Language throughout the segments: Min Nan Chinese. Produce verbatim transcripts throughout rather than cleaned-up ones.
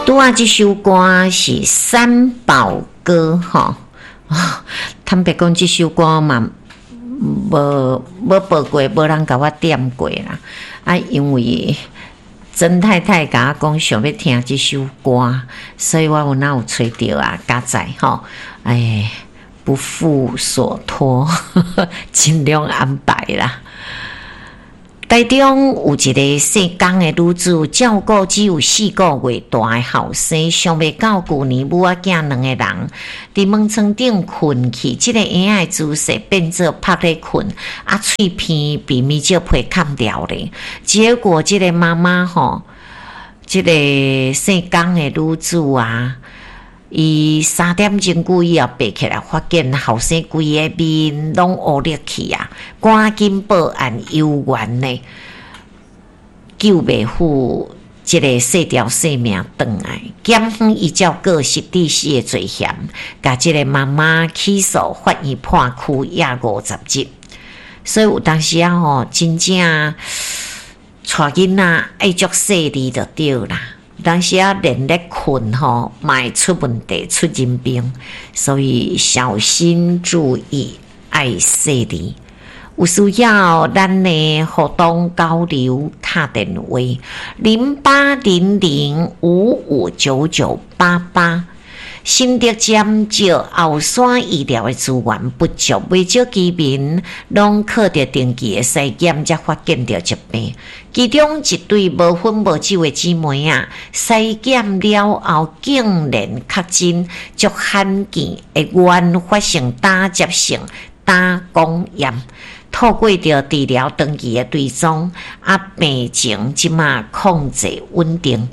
拄仔這首歌是《三寶歌》吼，坦白講，這首歌嘛無無播過，無人共我點過啦。啊，因為曾太太共我講想欲聽這首歌，所以我有哪有揣著啊，佳哉吼，哎，不負所託，盡量安排啦。台中有一个姓江的女子，照顧只有四個月大的後生，想袂到舊年母仔囝兩个人佇門床頂睏去，這个嬰仔的姿勢變做趴咧睏，啊，喙鼻被面紙皮崁牢咧。結果這個媽媽吼，這个姓江的女子啊，伊三點鐘久以後爬起來，發現後生規個面攏烏綠去啊！趕緊報案，有緣呢，救袂赴這个細條性命轉來。檢方依照過失致死的罪嫌，共這个媽媽起訴，法院判拘押五十日。所以有當時仔吼，真正帶囡仔愛足細膩就對啦。當時仔連咧睏吼，嘛會出問題，出人命，所以小心注意，愛細膩。有需要咱的活動交流敲電話零八零零五五九九八八。新竹尖石後山醫療的資源不足，袂少居民攏靠著定期的篩檢，才發現著疾病。其中一對無婚無子的姊妹仔，篩檢了後竟然確診足罕見的原發性膽汁性膽管炎，透過著治療長期的追蹤，啊，病情這馬控制穩定。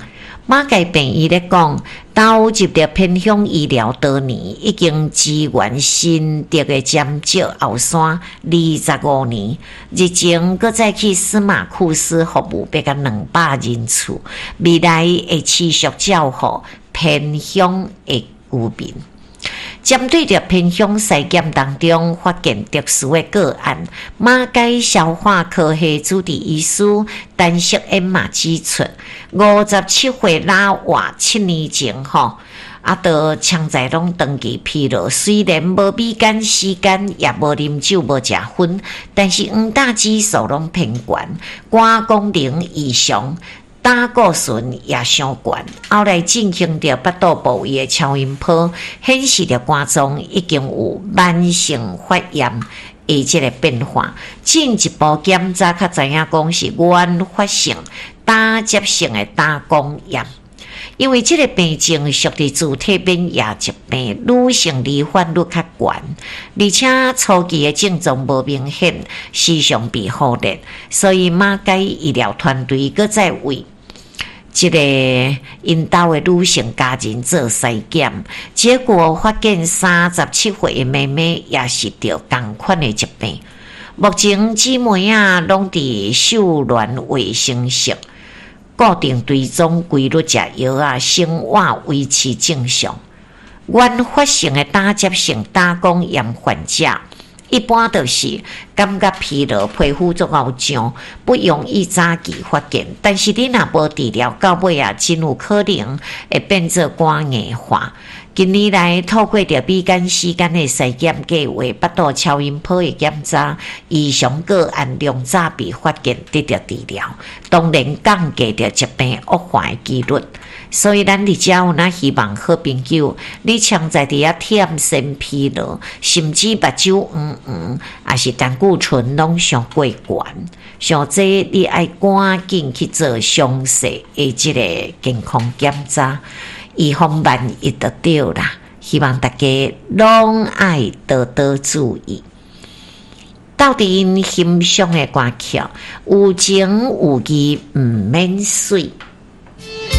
馬偕病院咧講，投入著偏鄉醫療多年，已經支援新竹的尖石後山二十五年。日前閣再去司馬庫斯服務，欲共兩百人次，未來會持續照顧偏鄉的居民。針對著偏鄉篩檢當中發現特殊的個案，馬偕消化科系主治醫師陳淑燕嘛指出，五十七歲老外七年前吼，啊，都潛在攏長期疲勞，雖然無米肝、時間，也無啉酒、無食薰，但是黃膽指數攏偏懸，肝功能異常。膽固醇也傷懸，後來進行著腹肚部位的超音波，顯示著肝臟已經有慢性發炎的這个變化。進一步檢查，才知影講是原發性膽汁性的膽管炎。因為這个病症屬佇自體免疫疾病，女性罹患率較懸，而且初期的症狀無明顯，時常被忽略，所以馬偕醫療團隊閣再為這个𪜶兜的女性家人做篩檢，結果發現三十七歲的妹妹也是著仝款的疾病。目前姊妹仔攏佇秀巒衛生室固定追蹤規律食藥仔，生活維持正常。原發性的膽汁性膽管炎患者，一般就是感覺疲勞、皮膚足𠢕脹，不容易早期發現。但是你若無治療，到尾仔真有可能會變做肝硬化。近年來，透過著米肝、時間的篩檢計劃、腹肚超音波的檢查，異常個案量早被發現，得著治療，當然降低著疾病惡化的幾率。所以，咱佇遮有哪希望好朋友，你潛在佇遐忝身疲勞，甚至目睭黃黃，抑是膽固醇攏傷過懸，像這你愛趕緊去做詳細的這个健康檢查，以防萬一就對啦。希望大家攏愛多多注意。鬥陣欣賞的歌曲，有情有義毋免媠。